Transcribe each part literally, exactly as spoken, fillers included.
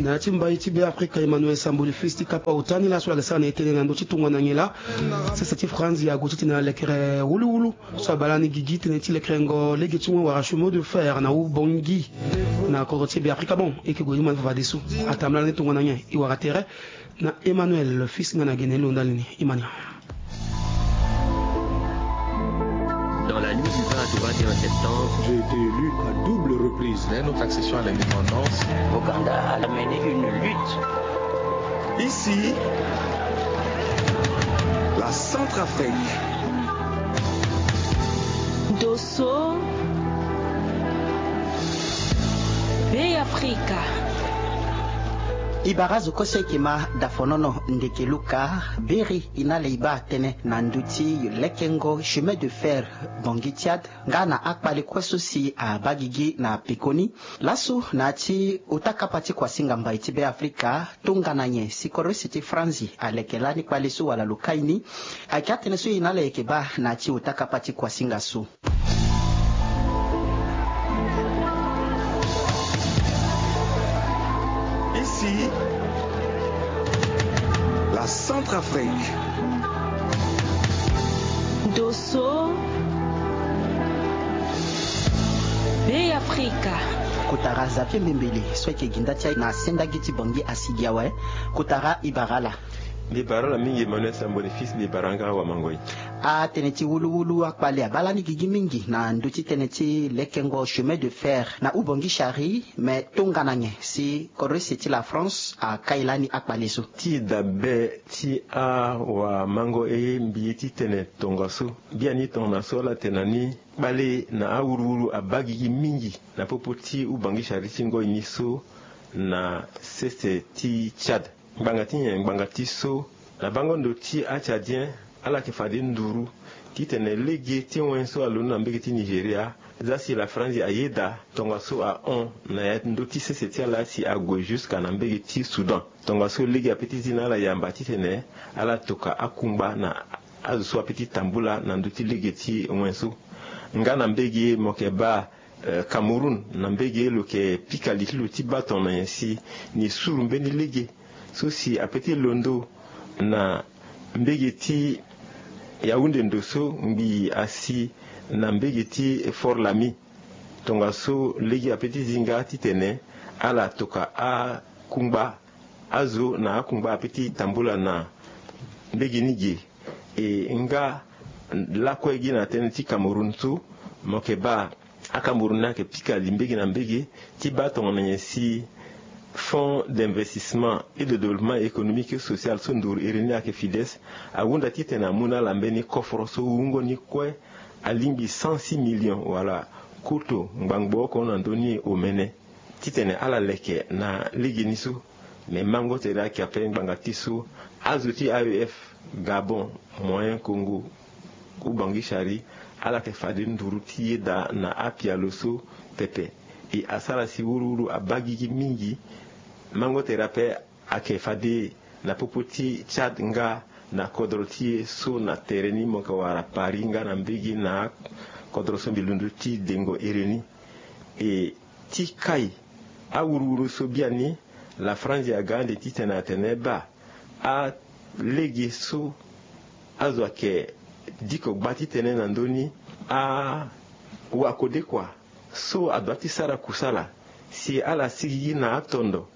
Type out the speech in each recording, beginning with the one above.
Na ya ti mbai ti Be Afrika, Emmanuel Samboli Fils ti kapa ota ni laso ayeke sara na e tënë na ndö ti tongana nyen laa sese ti Franzi ague titene alekere wuluwulu so abaa lani gigi tënë ti lekerengo lege ti wen wala chemin de fer na hubongi na kodro ti Be Afrika. Bon, e yeke gue ti ma ni fafadeso. Atambula lani tongana nyen? E wara tere na Emmanuel Fils nga na gene lo ndali ni. Imani. Dans la nuit du vingt au vingt et un septembre, j'ai été élu à double reprise. Dès notre accession à l'indépendance, Ouganda a mené une lutte. Ici, la Centrafrique. Dosso, Be Afrika. E bara zo kue so e yeke ma dafonono ndeke luka beri. E na le e baa tënë na ndö ti lekengo chemin de fer Bangui Tchad nga na akpale kue so si abaa gigi na pekoni. Laso na ya ti ota kapa ti kuasinga mbai ti Be Afrika, tongana nyen si kodro use ti Franzi aleke lani kpale so wala lo kai ni? Ayeke atënë so e na ala yeke baa na ya ti ota kapa ti kuasinga so. Ici, la Centrafrique. Dosso, Be Afrika. Kotara Xavier Mbembele so ayeke gi nda ti aye na sendagi ti Bangui asigi awe. Kotara, e bara ala. Mbi bara ala mingi Emmanuel Samboni Fils, mbi bara nga awa Mangoi. Atënë ti wuluwulu akpale abaa lani gigi mingi na ndö ti tënë ti lekengo chemin de fer na hubongi chari. Me tongana nyen si kodro use ti la France akai lani akpale so? Ti dabe ti awamango e, mbi ye ti tene tongaso, biani tongana so ala tene na ni, kpale na awuruwuru abaa gigi mingi na popo ti hubongi chari ti ngoi ni so na sese ti Tchad. Ngbanga ti nyen? Ngbanga ti so na bango ndo ti a-Tchadien, ala yeke fade nduru titene lege ti wen so alondo na mbege ti Nigeria, za si la Franzi ayeda tongaso ahon na ya ndö ti sese ti ala si ague jusqu'à na mbege ti Soudan. Tongaso lege ape ti zi na ala yamba titene ala toka akungba na azo so ape ti tambula na ndö ti lege ti wen so. Nga na mbege mo yeke baa, eh, Cameroun, na mbege lo yeke pika li ti lo ti baa tongana nyen si ni suru mbeni lege so si ape ti londo na mbege ti Yaoundé ndo so ngbii asi na mbege ti Fort Lami. Tongaso lege ape ti zi nga titene ala toka akungba azo na akungba ape ti tambula na mbege ni ge. E nga lakue gi na tënë ti Cameroun so, mo yeke baa aCameroun ni ayeke pika li mbege na mbege ti baa tongana nyen si Fonds d'investissement et de développement économique et social so nduru iri ni ayeke FIDES, ahunda titene amu na ala mbeni koforo so wungo ni kue alingbi cent six millions wala koto ngbangbo oko na ndö ni omene titene ala leke na lege ni so. Me mango tere ayeke ape ngbanga ti so azo ti A E F, Gabon, Moyen Congo, Ubangui Chari, ala yeke fade nduru ti yeda na apialo so pepe. E asara si wuruwuru abaa gigi mingi. Mango tere ape ayeke fade na popo ti Tchad nga na kodro ti e so na tere ni mo yeke wara Paris nga na mbege na kodro so mbi londo ti dengo ere ni. E ti kai awuruwuru so biani, la Franzi aga ande titene atene baa alege so azo ayeke diko gba ti tënë na ndö ni, awakodekua so adoit ti sara kusala si ala sigigi na atondo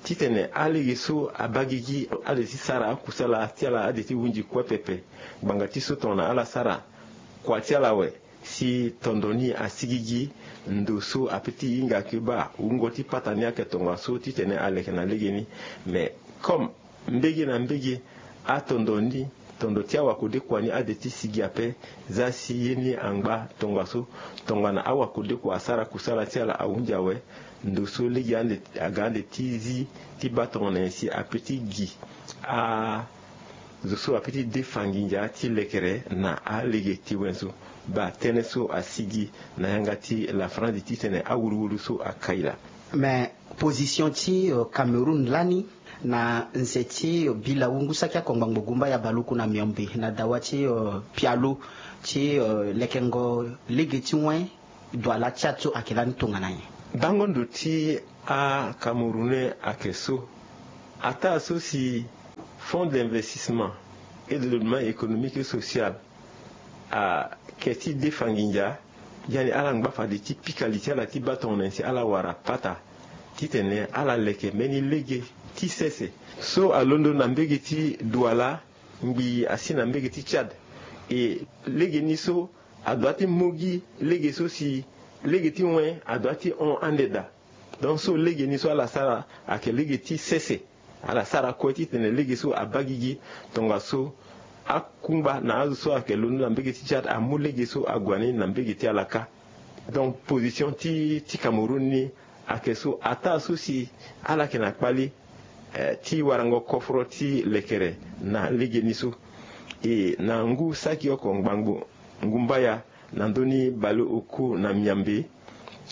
titene alege so abaa gigi ade ti sara akusala ti ala ade ti hunzi kue pepe. Ngbanga ti so tongana ala sara kua ti ala awe si tondo ni asigigi, ndo so ape ti hinga ayeke baa wungo ti pata ni ayeke tongaso titene aleke na lege ni. Mais comme mbege na mbege atondo ni, tondo ti awakodekua ni ade ti sigi ape. Za si ye ni angba tongaso, tongana awakodekua asara kusala ti ala ahunzi awe, ndo so lege ande aga ande ti zi ti baa tongana nyen si ape ti gi a zo so ape ti defa nginza ti lekere na alege ti wen so. Baa tënë so asigi na yanga ti la Franzi titene awuruwuru so akai laa. Mais position ti, euh, Cameroun lani na nze ti, euh, bila wungu saki akongba ngbogumba ya baluku na miombe na dawa ti, euh, pialo ti, euh, lekengo lege ti wen Douala Tchad so ayeke lani tongana nyen? Bango ndo ti Acamerounais ayeke so, ataa so si Fonds d'investissement et de développement économique et social ayeke ti defa nginza, biani ala ngba fade ti pika li ti ala ti baa tongana nyen si ala wara pata titene ala leke mbeni lege ti sese so alondo na mbege ti Douala ngbii asi na mbege ti Tchad. E lege ni so adoit ti mu gi lege so si lege ti wen adoit ti hon ande daa. Donc so lege ni so ala sara ayeke lege ti sese. Ala sara kue titene lege so abaa gigi. Tongaso akungba na azo so ayeke londo na mbege ti Tchad amu lege so ague na ni na mbege ti ala kâ. Donc position ti ti Cameroun ni ayeke so, ataa so si ala yeke na kpali eh, ti warango koforo ti lekere na lege ni so. E na ngu saki oko ngbangbo ngumbaya na ndö ni baleoku na miambe,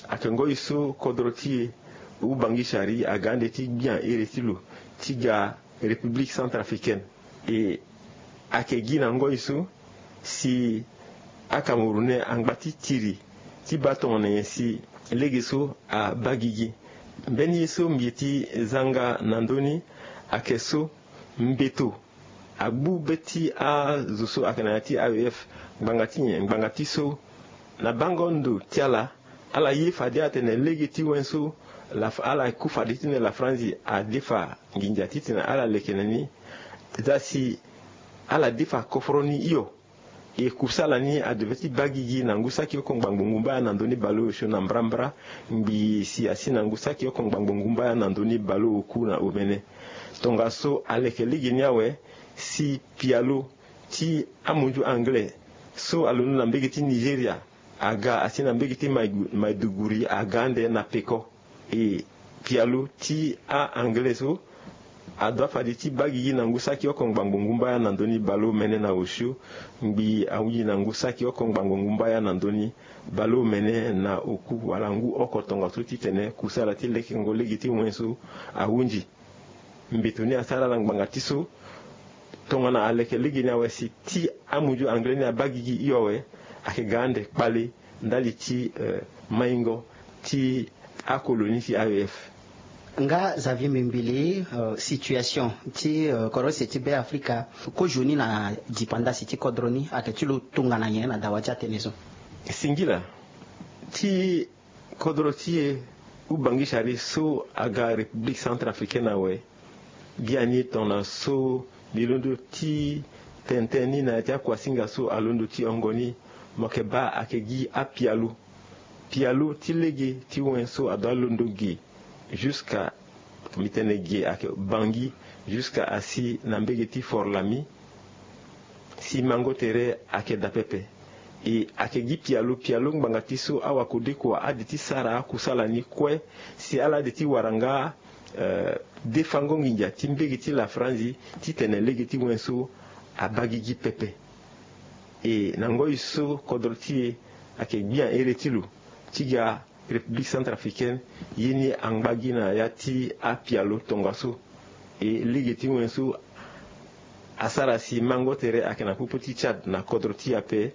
ayeke ngoi so kodro ti e Ubangishari aga ande ti gbia ere ti lo ti ga République centrafricaine. E ayeke gi na ngoi so si Acamerounais angba ti tiri ti baa tongana nyen si lege so abaa gigi. Mbeni ye so mbi ye ti zanga na ndö ni ayeke so mbeto agbu be ti azo so ayeke na ya ti A E F ngbanga ti nyen? Ngbanga ti so na bango ndo ti ala, ala ye fade atene lege ti wen so la, ala ku fade titene lafranzi adefa nginza titene ala leke na ni. Za si ala defa koforo ni hio. E kusala ni adevait ti baa gigi na ngu saki oko ngbangbo ngumbaya na ndö ni baleosio na mbrambra ngbii si asi na ngu saki oko ngbangbo ngumbaya na ndö ni baleoku na omene. Tongaso aleke lege ni awe si pialo ti amunzu anglais so alondo na mbege ti Nigeria aga asi na mbege ti Mai-, Maiduguri aga ande na peko. E pialo ti a-anglais so adoit fade ti baa gigi na ngu saki oko ngbangbo ngumbaya na ndö ni baleomene na osio ngbii ahunzi na ngu saki oko ngbangbo ngumbaya na ndö ni baleomene na oku wala ngu oko tongaso titene kusala ti lekengo lege ti wen so ahunzi. Mbeto ni asara ala ngbanga ti so tongana aleke lege ni awe si ti amunzu anglais ni abaa gigi hio awe, ayeke ga ande kpale ndali ti eh, maingo ti akolo ni ti A E F. Nga Xavier Mimbili, eh, situation ti eh, kodro sese ti Be Afrika kozoni na dipandasi ti kodro ni ayeke ti lo tongana nyen na dawa ti atene so? Singila ti kodro ti e Ubangishari so aga République centrafricaine awe. Biani tongana so mbi londo ti tene tënë ni na ya ti akuasinga so alondo ti hongo ni, mo yeke baa ayeke gi apialo. Pialo ti lege ti wen so adoit londo ge jusqu'à, mbi tene ge ayeke Bangui, jusqu'à asi na mbege ti Fort-Lamy. Si mango tere ayeke daa pepe. E ayeke gi pialo, pialo ngbanga ti so awakodekua ade ti sara akusala ni kue si ala ade ti wara nga eh, defango nginza ti mbege ti lafranzi titene lege ti wen so abaa gigi pepe. E na ngoi so kodro ti e ayeke gbia here ti lo ti ga République centrafricaine, ye ni angba gi na ya ti apialo tongaso. E lege ti wen so asara si mango tere ayeke na popo ti Tchad na kodro ti e ape,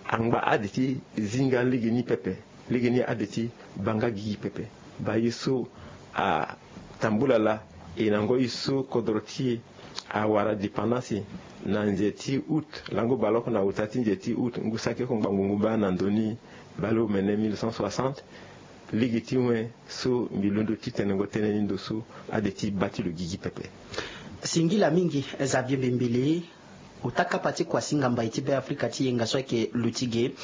angba ade ti zinga lege ni pepe, lege ni ade ti baa nga gigi pepe. Baa ye so atambula laa, e na ngoi so kodro ti e awara dépendance na nze ti août, lango baleoko na ota ti nze ti août ngu saki oko ngbangbo ngumbaya na ndö ni baleomene mille neuf cent soixante. Lege ti wen so mbi londo ti tenengo tënë ni ndo so ade ti baa ti lo gigi pepe. Singila mingi Xavier Mbembele. Ota kapa ti kuasinga mbai ti Be Afrika ti yenga so ayeke luti ge,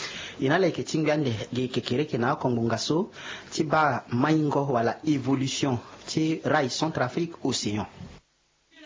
e na ala yeke tingbi ande ge kekereke na akongbonga so ti baa maingo wala évolution ti rai Centrafrique Océan.